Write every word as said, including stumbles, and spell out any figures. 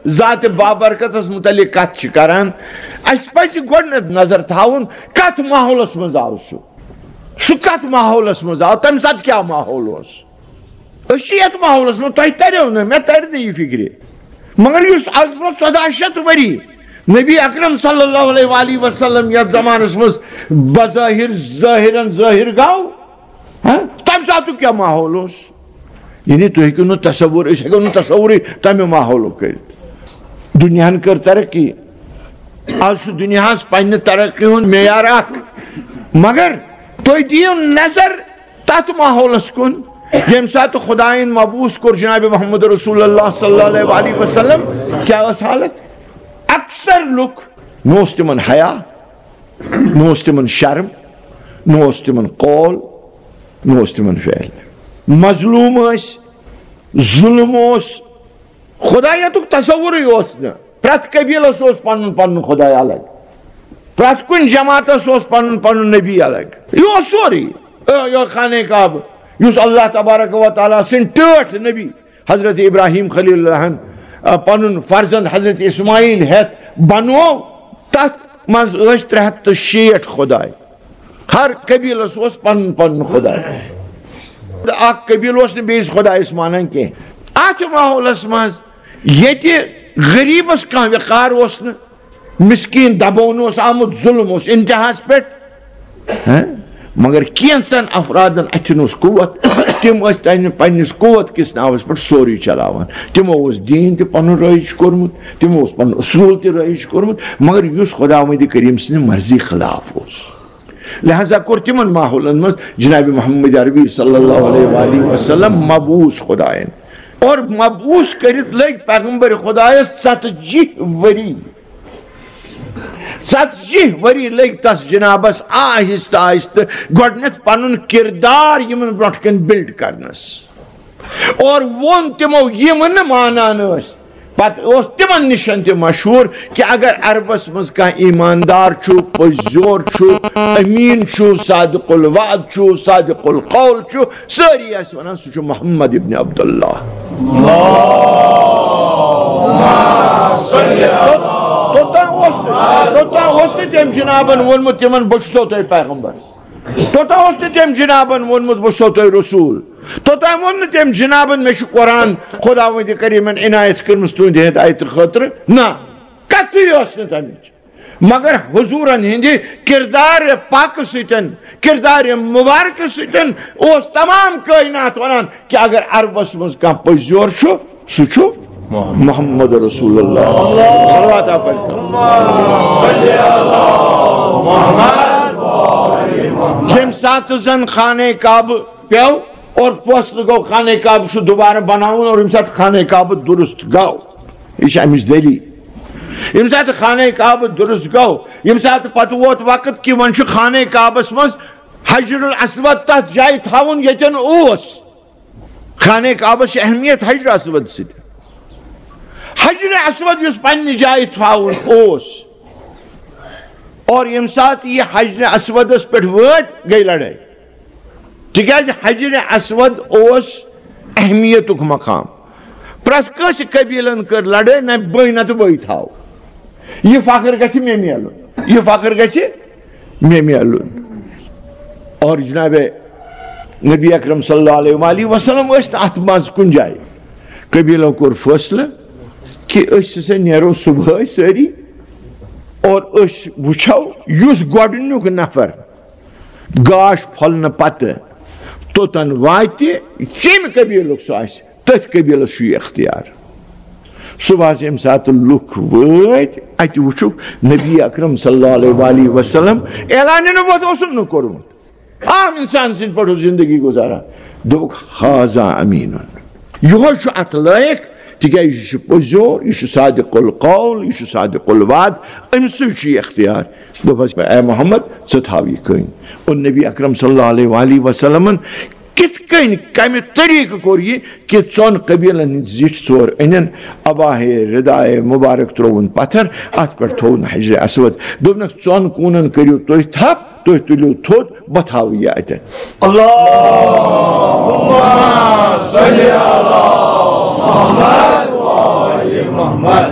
ذات بابرکتس متعلق کتھ چھِ کران، اسہِ پزِ گۄڈٕنیتھ نظر تھاوُن کتھ ماحولس منٛز آو سُہ۔ سُہ کتھ ماحولس منٛز آو، تمہِ ساتہٕ کیٛاہ ماحول اوس؟ أسۍ چھِ یتھ ماحولس منٛز، تۄہہِ تریو نہٕ، مےٚ ترِ نہٕ یہِ فکرِ۔ مگر یُس از برونٛہہ ژۄداہ شیٚتھ ؤری نبی اکرم صلی اللہ علیہ وآلہ وسلم یتھ زمانس منٛز بظاہر ظاہرن ظٲہر گوٚو، ہاں، تمہِ ساتُک کیٛاہ ماحول اوس؟ یعنی تُہۍ ہیٚکِو نہٕ تصور، أسۍ ہیٚکو نہٕ تصورٕے تمہِ ماحولُک کٔرِتھ۔ دُنیاہن کٔر ترقی، از چھُ دُنیاہس پننہِ ترقی ہُنٛد معیار اکھ، مگر تُہۍ دِیِو نظر تتھ ماحولس کُن، ییٚمہِ ساتہٕ خدایَن مبعوث کوٚر جناب محمد رسول اللہ صلی اللہ علیہ وآلہ وسلم، کیٛاہ ٲس حالت؟ اکثر لُکھ، نہ اوس تِمن حیا، نہ اوس تِمن شرم، نہ اوس تِمن قول، نہ اوس تِمن فعل۔ مظلوم ٲسۍ، ظلم اوس، خدایتُک تصورٕے اوس نہٕ۔ پرٛٮ۪تھ قبیلس اوس پنُن پنُن خداے الگ، پرٛٮ۪تھ کُنہِ جماعتس اوس پنُن پنُن نبی الگ۔ یہِ اوس سورُے۔ اے، یہِ خانہ کعبہٕ، یُس اللہ تبارک و تعالیٰ سٕنٛدۍ ٹٲٹھۍ نبی حضرت ابراہیم خلیل اللہ ہن، آ، پنُن فرزند حضرت اسماعیل ہٮ۪تھ بنوو، تتھ منٛز ٲسۍ ترٛےٚ ہتھ تہٕ شیٹھ خداے۔ ہر قبیلس اوس پنُن پنُن خداے۔ اکھ قبیلہٕ اوس نہٕ بیٚیِس خدایس مانان کینٛہہ۔ اتھ ماحولس منٛز ییٚتہِ غریبس کانٛہہ وقار اوس نہٕ، مسکین دباونہٕ اوس آمُت، ظلم اوس انتہاہس پٮ۪ٹھ۔ ہاں؟ مگر کینٛژن افرادن اتھن اوس قوت، تِم ٲسۍ تمہِ پننِس قوت کِس ناوس پٮ۪ٹھ سورُے چلاوان۔ تِمو اوس دیٖن تہِ پنُن رٲیِج کوٚرمُت، تِمو اوس پنُن اصوٗل تہِ رٲیِج کوٚرمُت، مگر یُس خداوند کریم سٕنٛدِ مرضی خلاف اوس۔ لہذا کوٚر تِمن ماحولن منٛز جناب محمد عربی صلی اللہ علیہ وآلہ وسلم مبعوث خدایَن۔ اور مبعوث کٔرِتھ لٔگۍ پیغمبر خدایس ژتجی ؤری۔ ژتجی ؤری لٔگۍ تس جنابس آہستہٕ آہستہٕ گۄڈٕنیتھ پنُن کردار یِمن برونٛٹھ کنہِ build کرنس۔ اور ووٚن تِمو، یِم نہٕ مانان ٲسۍ۔ پتہٕ اوس تِمن نِش تہِ مشہوٗر کہِ اگر عربس منٛز کانٛہہ ایٖماندار چھُ، پٔزۍ زور چھُ، امیٖن چھُ، صادق الوعد چھُ، صادق القول چھُ، سٲری ٲسۍ ونان، سُہ چھُ محمد ابن عبداللہ۔ توٚتام اوس نہٕ، توٚتام اوس نہٕ تٔمۍ جنابن ووٚنمُت تِمن، بہٕ چھُسو تۄہہِ پیغمبر۔ توٚتام اوس نہٕ تٔمۍ جنابن ووٚنمُت، بہٕ چھُسو تۄہہِ رسول۔ توٚتام ووٚن نہٕ تٔمۍ جنابن، مےٚ چھُ قرآن خداوندِ کریمن عنایت کٔرمٕژ تُہنٛدِ ہدایتہٕ خٲطرٕ۔ نہ، کتھٕے ٲس نہٕ تمِچ۔ مگر حضورن ہٕنٛدِ کردار پاکہٕ سۭتۍ، کردار مبارکہٕ سۭتۍ اوس تمام کائنات ونان کہِ اگر عربس منٛز کانٛہہ پٔزۍ یور چھُ، سُہ چھُ محمد رسول اللہ۔ صلوات آپ پٔرِو۔ ییٚمہِ ساتہٕ زن خانہ کعبہٕ پیوٚو اور فٲصلہٕ گوٚو خانہ کعبہٕ چھُ دوبارٕ بناوُن، اور ییٚمہِ ساتہٕ خانہ کعبہٕ درست گوٚو، یہِ چھِ اَمِچ دٔلیٖل۔ ییٚمہِ ساتہٕ خانہ کعبہٕ درست گوٚو، ییٚمہِ ساتہٕ پتہٕ ووت وقت کہِ وۄنۍ چھُ خانہ کعبس منٛز حجر الاسود تتھ جایہِ تھاوُن ییٚتٮ۪ن اوس۔ خانہ کعبس چھِ اہمیت حجر اسود سۭتۍ۔ حجر اسود یُس پننہِ جایہِ تھاوُن اوس، اور ییٚمہِ ساتہٕ یہِ حجر اسودس پٮ۪ٹھ وٲتۍ، گٔے لڑٲے۔ تِکیازِ حجر اسود اوس اہمیتُک مقام۔ پرٛٮ۪تھ کٲنٛسہِ قبیلن کٔر لڑٲے، نہ بٕے نہ تہٕ بٕے تھاو۔ یہِ فخر گژھِ مےٚ میلُن، یہِ فخر گژھِ مےٚ میلُن۔ اور جناب نبی اکرم صلی اللہ علیہ وآلہ وسلم ٲسۍ نہٕ اتھ منٛز کُنہِ جایہِ۔ قبیلو کوٚر فٲصلہٕ کہِ أسۍ ہسا نیرو صبحٲے سٲری اور أسۍ وٕچھو یُس گۄڈٕنیُک نفر گاش پھۄلنہٕ پتہٕ توٚتن واتہِ، کمہِ قبیلُک سُہ آسہِ، تٔتھۍ قبیلس چھُ یہِ اختیار۔ صبحس ییٚمہِ ساتہٕ لُکھ وٲتۍ، اتہِ وٕچھُکھ نبی اکرم صلی اللہ علیہ وآلہ وسلم اعلان نبوت اوسُن نہٕ کوٚرمُت۔ عام انسان سٕنٛدۍ پٲٹھۍ اوس زندگی گُزاران۔ دوٚپُکھ، "ھذا امین"۔ یِہوٚے چھُ اتھ لٲیق، تِکیٛازِ یہِ چھُ پوٚز یور، یہِ چھُ صادق القول، یہِ چھُ صادق الوعد، أمۍ سٕے چھُ یہِ اختیار۔ دوٚپہَس، "اے محمد، ژٕ تھاو یہِ کٔنۍ۔" اور نبی اکرم صلی اللہ علیہ وآلہ وسلمن کِتھ کٔنۍ، کمہِ طریقہٕ کوٚر یہِ کہِ ژۄن قبیلن ہٕنٛدۍ زِٹھۍ ژور أنِن، اباہے رداے مبارک ترٛووُن پتھر، اتھ پٮ۪ٹھ تھووُن حجر اسود، دوٚپنکھ، "ژۄن کوٗنن کٔرِو تُہۍ تھپھ، تُہۍ تُلِو تھوٚد، بہٕ تھاوٕ یہِ اتٮ۪ن۔" اللہم صل علی محمد و آل محمد۔